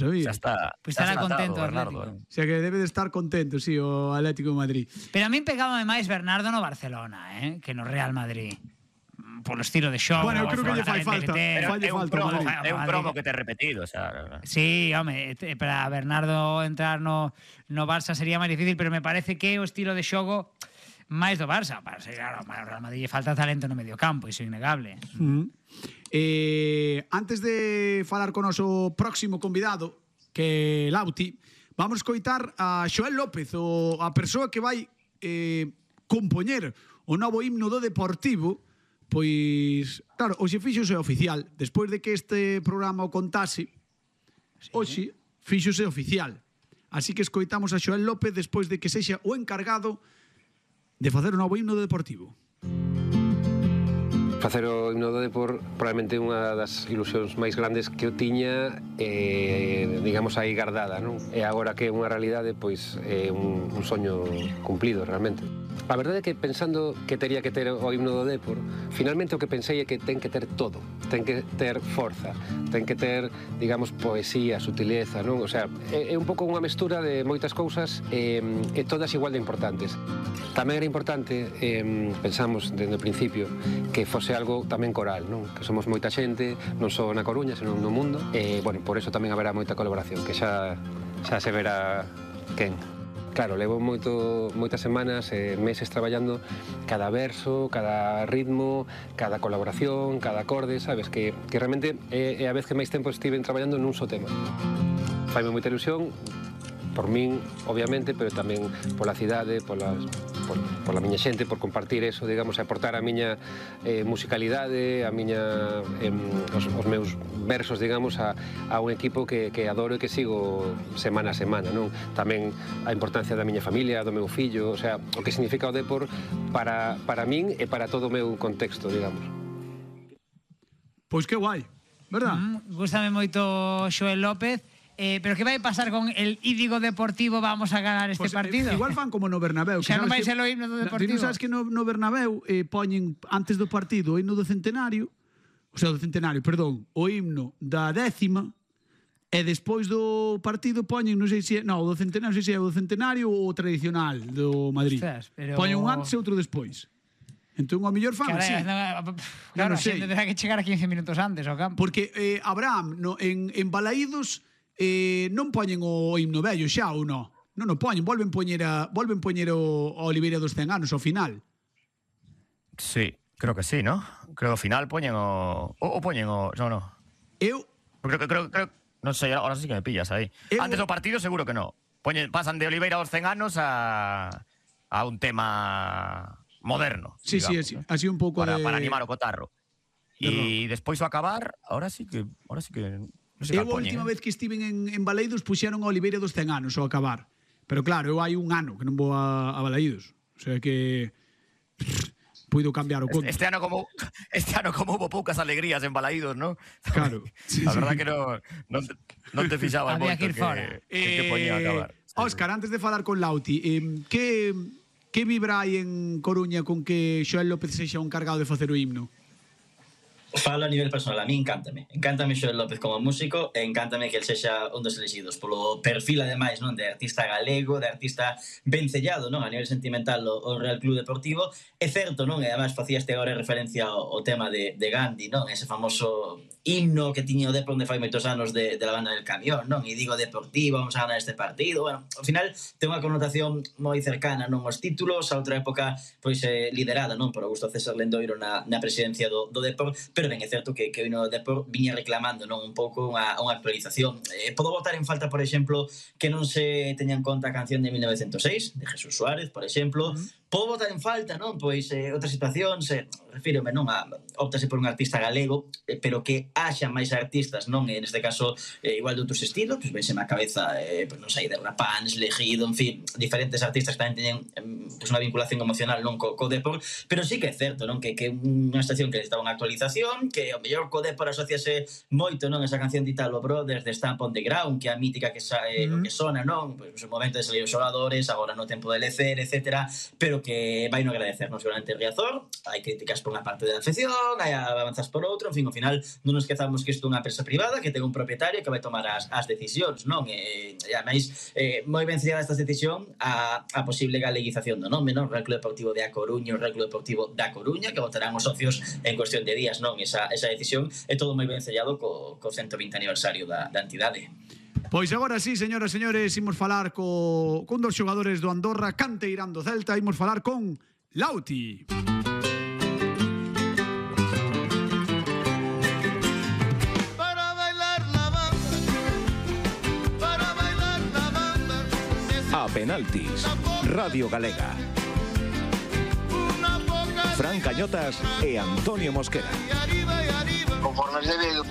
Xa está. Pois estará contento o Bernardo. Atlético. O sea que debe de estar contento, sí, o Atlético de Madrid. Pero a min pegábame máis Bernardo no Barcelona, que no Real Madrid. Polo estilo de xogo. Bueno, eu creo que lle fai falta. É un cromo que te repetido, xa. Sí, home, para Bernardo entrar no Barça sería máis difícil, pero me parece que o estilo de xogo máis do Barça. Claro, ao Real Madrid lle falta talento no medio campo, iso é innegable. Antes de falar con o noso próximo convidado, que é Lauti, vamos coitar a Xoel López, a persoa que vai compoñer o novo himno do Deportivo. Pois, claro, hoxe fíxose oficial. Despois de que este programa o contase, hoxe fíxose oficial. Así que escoitamos a Xoel López despois de que sexa o encargado de facer o novo himno do Deportivo. Facer o himno do Depor probablemente unha das ilusións máis grandes que eu tiña, digamos, aí guardada, non? E agora que é unha realidade, pois é un soño cumplido realmente. A verdade é que pensando que tería que ter o himno do Depor, finalmente o que pensei é que ten que ter todo. Ten que ter forza, ten que ter, digamos, poesía, sutileza, non? O sea, é un pouco unha mestura de moitas cousas e todas igual de importantes. Tamén era importante, pensamos desde o principio, que fose algo tamén coral, non? Que somos moita xente, non só na Coruña, senón no mundo, e, bueno, por eso tamén haberá moita colaboración, que xa se verá quen. Claro, levo moitas semanas e meses traballando cada verso, cada ritmo, cada colaboración, cada acorde, sabes? Que realmente é a vez que máis tempo estiven traballando nun só tema. Faime moita ilusión, por min, obviamente, pero tamén pola cidade, pola miña xente, por compartir eso, digamos, e aportar a miña musicalidade, os meus versos, digamos, a un equipo que adoro e que sigo semana a semana, non? Tamén a importancia da miña familia, do meu fillo, o sea, o que significa o Depor para min e para todo o meu contexto, digamos. Pois que guai, verdad? Gústame moito Xoel López. Pero que vai pasar con el Ídigo Deportivo? Vamos a ganar este partido? Igual fan como no Bernabéu. Xa non vai ser o himno do Deportivo. Ti non sabes que no Bernabéu poñen antes do partido o himno do centenario, o himno da 10ª, e despois do partido poñen, non sei se o do centenario, non sei se é o do centenario ou o tradicional do Madrid. Poñen un antes e outro despois. Entón, ao mellor fan así. Claro, a xente terá que chegar a 15 minutos antes ao campo. Porque Abraham, en Balaídos, non poñen o himno vello xa ou non? Non o poñen, volven poñer o Oliveira dos 100 anos ao final. Sí, creo que sí, ¿no? Creo que ao final poñen o poñen o... No. Eu... Creo... Non sei, ahora sí que me pillas aí. Antes do partido seguro que no. Pasan de Oliveira dos 100 anos a un tema moderno. Sí, digamos, sí, así un pouco para animar o cotarro. E despois o acabar, ahora sí que... Eu a última vez que estiven en Balaídos puxeron a Oliveira dos 100 anos ao acabar. Pero claro, eu hai un ano que non vou a Balaídos. O sea que puido cambiar o conto. Este ano como hubo poucas alegrías en Balaídos, ¿no? Claro. A verdad que non te fixabas moito que poñía a acabar. Óscar, antes de falar con Lauti, que vibra hai en Coruña con que Xoel López sexa o encargado de facer o himno? Falo a nivel personal, a mí encántame Xoel López como músico e encántame que el sexa un dos elegidos polo perfil ademais, non, de artista galego, de artista vencellado, non, a nivel sentimental o Real Club Deportivo. É certo, non, e ademais facíaste agora referencia ao tema de Gandhi, non, ese famoso himno que tiña o Depor onde fai moitos anos de la banda del camión, non, e digo Deportivo, vamos a ganar este partido. Bueno, ao final ten unha connotación moi cercana, non, aos títulos, a outra época pois liderada, non, por Augusto César Lendoiro na presidencia do Depor. Pero ben, é certo que o himno do Depor viña reclamando, non, un pouco unha actualización. Podo botar en falta, por exemplo, que non se teña en conta a canción de 1906 de Jesús Suárez, por exemplo. Podo botar en falta, non, pois outras situacións, refírome, non, optase por un artista galego, pero que haxa máis artistas, non, neste caso igual de outros estilos, pois vense má cabeza, non sei, de Rapans, Legido, en fin, diferentes artistas que tamén teñen pois unha vinculación emocional, non, co Depor, pero sí que é certo, non, que unha estación que necesitaba unha actualización, que ao mellor co Depor asociase moito, non, esa canción de Italo Brothers de Stamp on the Ground, que a mítica que que sona, non, pois no momento de salir os xogadores, agora no tempo de lecer, etcétera, pero creo que vai no agradecer, non seguramente Riazor, hai críticas por unha parte da afección, hai avanzas por outro, en fin, ao final non nos esquezamos que isto é unha empresa privada que ten un propietario que vai tomar as decisións, non? E ademais, moi ben sellada esta decisión a posible galeguización do nome, non? O Real Club Deportivo de A Coruña, o Real Club Deportivo da Coruña, que votarán os socios en cuestión de días, non? Esa decisión é todo moi ben sellado co 120 aniversario da entidade. Pois agora sí, señoras e señores, imos falar con dos xogadores do Andorra, canteirán do Celta, imos falar con Lauti. A penaltis, Radio Galega. Fran Cañotas e Antonio Mosquera. Conforme se ve